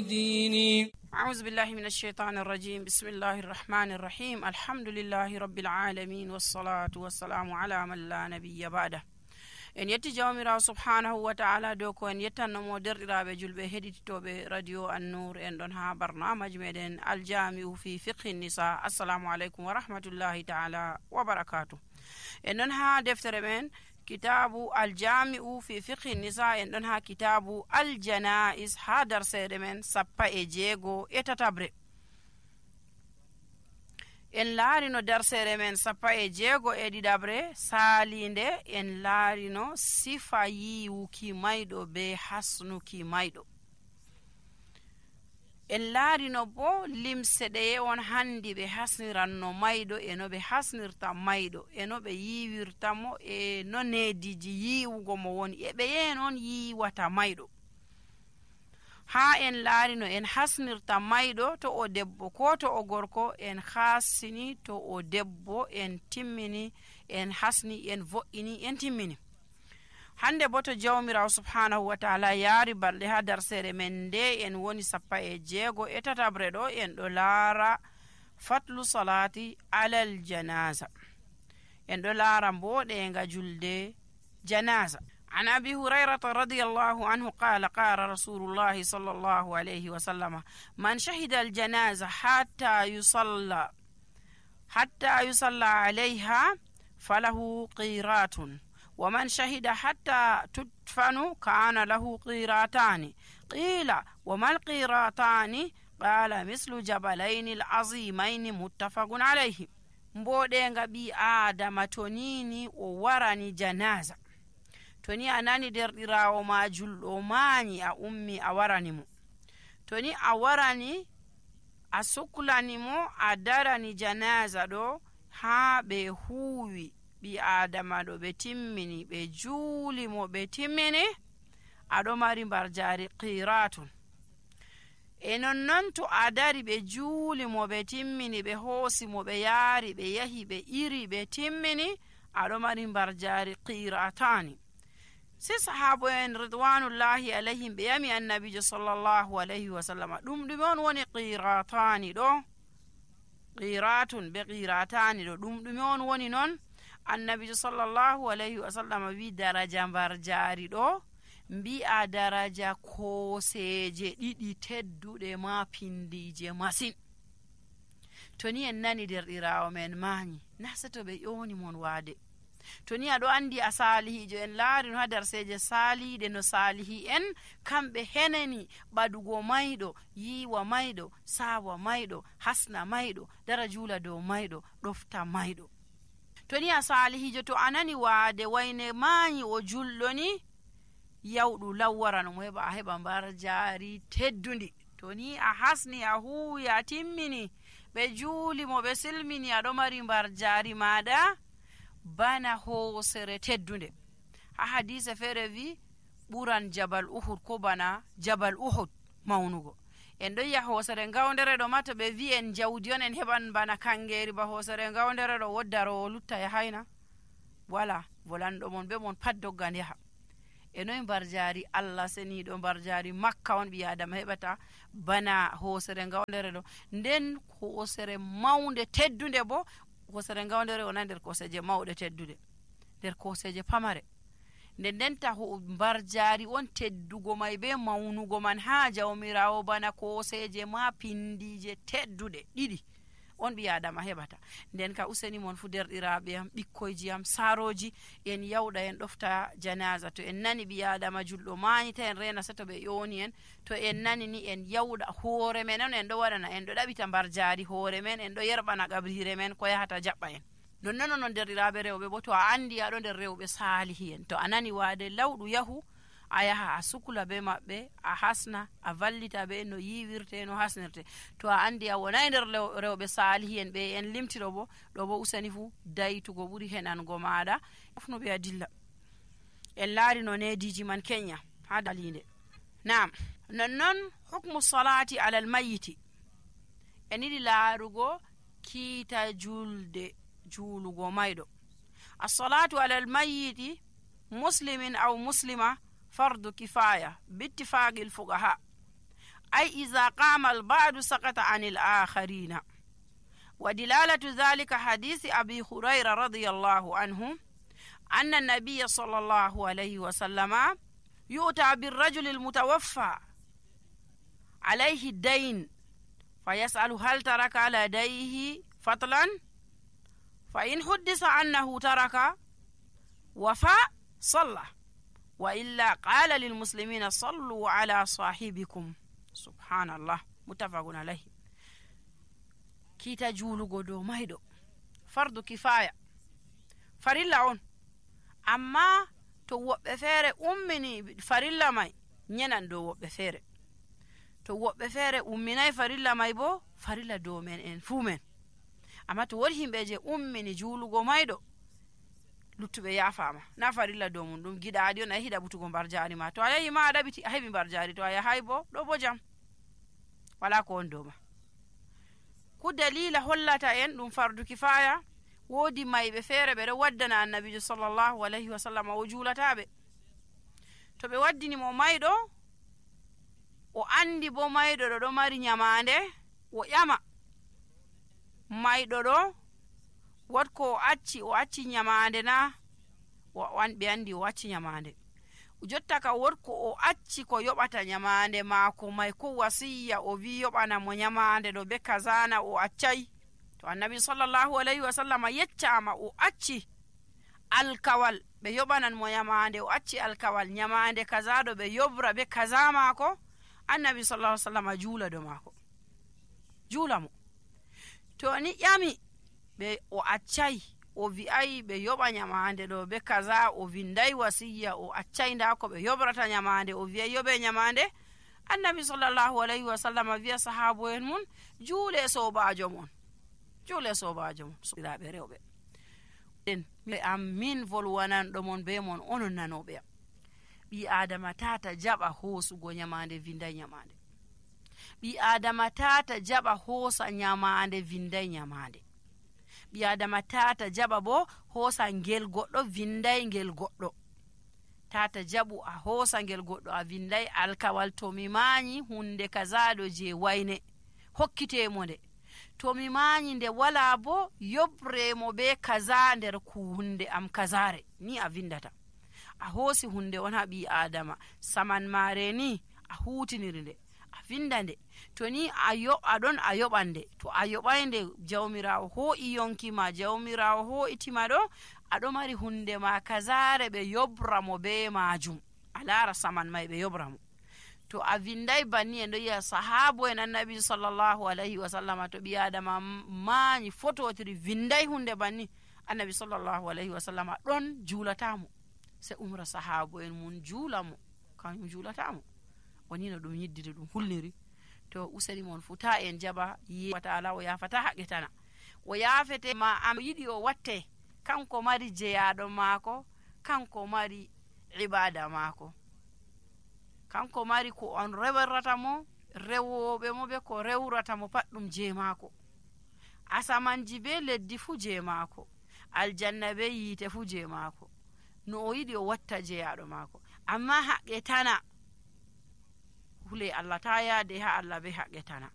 ديني. أعوذ بالله من الشيطان الرجيم. بسم الله الرحمن الرحيم. الحمد لله رب العالمين والصلاة والسلام على من لا نبي بعده. en yetti jawmirawo subhanahu wa ta'ala dow ko en yettannomo derɗiraɓe julɓe heɗititoɓe radio An-Nur en ɗon ha barnamaji meɗen aljami'u fi fiqhi nisa. assalamu aleykum wa rahmatullahi ta'ala wa barakatuh. en ɗon ha deftere men kitabu aljami'u fi fiqhi nisa, en ɗon ha kitabu aljanais ha darseɗe men 16 en laarino darsere men 16 saalinde en laarino sifa yiwuki mayɗo be hasnuki mayɗo. en laarino bo limse ɗeye on handi ɓe hasniranno mayɗo e no ɓe hasnirta mayɗo e no ɓe yiwirtamo e no nediji yiwugo mo woni e ɓe yen on yiwata mayɗo. ha en laarino en hasnirta mayɗo to o debbo ko to o gorko, en hasini to o debbo en timmini, en hasni en vo'ini en timmini. hande bo to jawmirawo subhanahu wa ta'ala yaari balɗe ha darsere men nde en woni 16 ɗo en ɗo laara fatlu salati alal janaza, en ɗo laara mboɗenga julde janaza. عن أبي هريرة رضي الله عنه قال قال رسول الله صلى الله عليه وسلم من شهد الجنازة حتى يصلى عليها فله قيرات، ومن شهد حتى تدفن كان له قيراتان. قيل وما القيراتان؟ قال مثل جبلين العظيمين متفق عليه. mboɗenga ɓi adama to nini o warani janaza, to ni a nani derɗirawo ma julɗo mañi a ummi a warani mo, to ni a warani a suklani mo a darani janaza ɗo ha ɓe huwi ɓi adama ɗo ɓe timmini ɓe juuli mo ɓe timmini, aɗo mari mbarjari qiratun. e nonnon to a dari ɓe juuli mo ɓe timmini ɓe hoosi mo ɓe yaari ɓe yahi ɓe iri ɓe timmini, aɗo mari mbarjari qiratani. si sahabo en ridwanullahi alayhim ɓe yami annabijo sallallahu alayhi wa sallam ɗum ɗume on woni qiratani ɗo? qiratun be qiratani ɗo ɗum ɗume on woni non? annabijo sallallahu alayhi wa sallam wi daraja mbarjari ɗo mbi'a daraja koseje ɗiɗi tedduɗe ma pindije masin. to ni en nani derɗirawo men mañi na seto ɓe ƴoni mon waade, to ni aɗo andi a salihijo, en laari no ha darseje saliɗe no salihi en kamɓe henani ɓadugo mayɗo, yiwa mayɗo, sawa mayɗo, hasna mayɗo, dara juula dow mayɗo, ɗofta mayɗo. to ni a salihijo to anani waade wayne mañi o julɗo ni, yawɗu lawwarano mo heɓa a heɓa mbarjari teddundi. to ni a hasni a huwi a timmini ɓe juuli mo ɓe silmini, aɗo mari mbarjari maɗa bana hoosere teddunde. ha hadise feere wi ɓuran jabal uhud ko bana jabal uhud mawnugo. en ɗon yi'a hoosere ngawdere ɗo ma to ɓe wi en jawdi on en heɓan bana kangeri ba hoosere ngawdere ɗo woddaro o lutta yahayna wala, volanɗo mon be mon pat doggan yaha. e noy mbarjari allah seniɗo mbarjari makka on ɓi adama heɓata bana hoosere ngawdere ɗo. nden hoosere mawnde teddunde bo, hoosere ngawdere wona nder koseje mawɗe teddude, nder koseje pamare. ndenta mbarjari on teddugo may be mawnugo man ha jawmirawo bana koseje ma pindije teddude ɗiɗi on ɓi adama heɓata. nden ka useni mon fu derɗiraɓe am, ɓikkoyji am, saroji, en yawɗa en ɗofta janaza. to en nani ɓi adama julɗo mañita en rena seto ɓe ƴoni en, to en nani ni en yawɗa hoore men on en ɗo waɗana, en ɗo ɗaɓita mbarjari hoore men, en ɗo yerɓana qabrire men ko yahata jaɓɓa en. nonnon non derɗiraɓe rewɓe bo, to a andi aɗo nder rewɓe salihi en, to a nani waade lawɗu yahu a yaha a sukla be maɓɓe, a hasna, a vallita be no yiwirte no hasnirte. to a andi a wonai nder rewɓe salihi en ɓe en limtiɗo bo, ɗo bo usani fu daytugo ɓuri henango maɗa fufno ɓe a dilla. en laari no nediji man kenya ha dalinde. nam nonnon hukmu salati alal mayiti, en yiɗi laarugo kiita juulugo mayɗo. as-salatu alal mayiti muslimin aw muslima fardu kifaya bittifaqil fuqaha. أي إذا قام البعض سقط عن الآخرين. ودلالة ذلك حديث أبي هريرة رضي الله عنه أن النبي صلى الله عليه وسلم يؤتى بالرجل المتوفى عليه الدين فيسأل هل ترك لديه فضلا، فإن حدث أنه ترك وفى صلى، وإلا قال للمسلمين صلوا على صاحبكم. سبحان الله. متفق عليه. كيتا جولو دو مايدو فرض كفاية farilla on, amma to woɓɓe feere ummini farilla may nyenan dow woɓɓe feere, to woɓɓe feere umminay farilla may bo farilla dow men en fuu men. amma to wodi himɓe je ummini juulugo mayɗo luttuɓe yaafama na farilla dow mum, ɗum giɗaɗi on a hiɗa ɓutugo mbar jari ma, to a yahi ma a ɗaɓiti a heɓi mbar jari, to a yahay bo ɗo bo jam wala ko on dow ma. ku dalila hollata en ɗum fardu kifaya, woodi mayɓe feere ɓe ɗo waddana annabijo sallllahu alayhi wa sallam o juulataɓe. to ɓe waddinimo mayɗo o andi bo mayɗo ɗo ɗo mari nyamande, o ƴama mayɗo ɗo watko o acci nyamande na, ɓe andi o acci nyamande, jotta ka wotko o acci ko yoɓata nyamande maako may ko wasiya o wi yoɓana mo nyamande ɗo be kazana o accay, to annabi sallllahu alayhi wa sallam yeccama o acci alkawal ɓe yoɓanan mo nyamande, o acci alkawal nyamande kaza ɗo ɓe yobra be kaza maako, annabi sallallahu alaihi wasallam juula do maako, juula mo. to ni ƴami ɓe o accay o wi'ay ɓe yoɓa nyamande ɗo be kaza, o winday wasiya o accay nda ko ɓe yobrata nyamande, o wi'ay yoɓe nyamande, annabi sallallahu alaihi wasallam wi'a sahabo en mun juule sobajo mon, juule sobajo mon. soɓiraɓe rewɓe en min volwananɗo mon be mon onon nanoɓe am, ɓi adama tata jaɓa hoosugo nyamande winday nyamande, ɓi adama tata jaɓa hoosa nyamande winday nyamande, ɓi adama tata jaɓa bo hoosa ngel goɗɗo winday ngel goɗɗo, tata jaɓu a hoosa ngel goɗɗo a winday alkawal, to mi mañi hunde kazaɗo je wayne hokkitemo nde, to mi mañi nde wala bo yobremo be kaza nder ku hunde am kazare, ni a windata a hoosi hunde on ha ɓi adama, saman mare ni a hutiniri nde a winda nde, to ni aɗon a yoɓan nde, to a yoɓay nde jawmirawo ho'i yonkima, jawmirawo ho'itima ɗo aɗo mari hunde ma kazare ɓe yobra mo be majum, a lara saman may ɓe yobra mo. to a winday banni en ɗo yiya sahabo en annabi sallllahu alayhi wa sallam, to ɓi adama mañi fototiri winday hunde banni, annabi sallllahu alayhi wa sallam ɗon juulatamo, se umra sahabo en mun juulamo, kañum juulatamo. woni no ɗum yiddiri ɗum hulniri. to useni mon fu ta en jaɓa yewataala o yafata haqqetana, o yafete ma am yiɗi o watte, kanko mari jeyaɗo maako, kanko mari ibada maako, kanko mari ko on rewrata mo, rewoɓe mo be ko rewrata mo pat ɗum je maako, asamanji be leddi fu je maako, aljanna be yiite fu je maako, no o yiɗi o watta jeyaɗo maako. amma haqqetana hule Allah ta yaade ha Allah be haqqetana